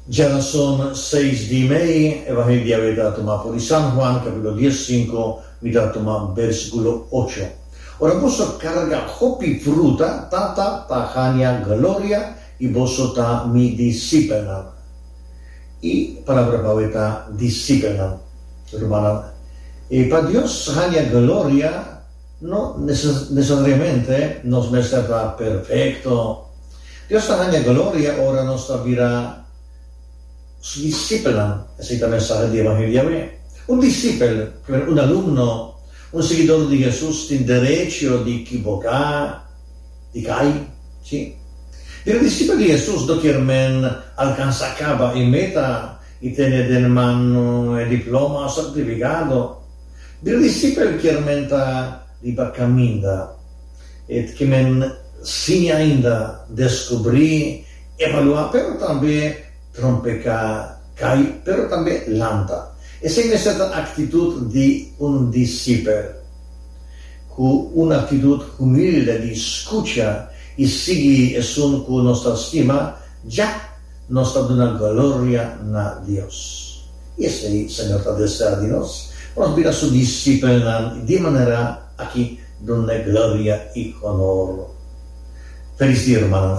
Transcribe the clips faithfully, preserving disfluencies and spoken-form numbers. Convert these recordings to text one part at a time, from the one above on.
Djarason seis di mei, Evangelio di awe ta tuma for di San Juan, capítulo dies sinku, mi ta tuma versículo ocho. Ora boso carga hopi fruta, Tata ta haña gloria y boso ta mi discipelnan. E palabra pa awe ta discipelnan. Rumannan, e pa Dios haña gloria, no necesariamente nos mester ta perfecto. Dios ta haña gloria ora nos ta bira su discipelnan. Esey ta mensahe di Evangelio awe. Un discipel, un alumno, un siguidor di Jesus tin derecho di kiboká, di kai, si. Bira discipel di Jesus no kier men alcansa caba e meta y tene den man e diploma o certificado. Bira discipel kier men ta riba caminda. E kier men siña ainda, descubri, evalua, pero tambe trompeca, cay, pero tambe lanta. Esey mester ta actitud di un discipel. Cu un actitud humilde di scucha y sigui esun cu nos ta stima, ya nos ta duna gloria na Dios. Y esey Señor ta desea di nos, pa nos bira su discipelnan y di manera aki dun'e gloria y honor. Feliz dia, rumannan.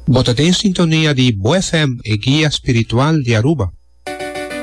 Bo ta den sintonia di Bo F M, e guia spiritual di Aruba.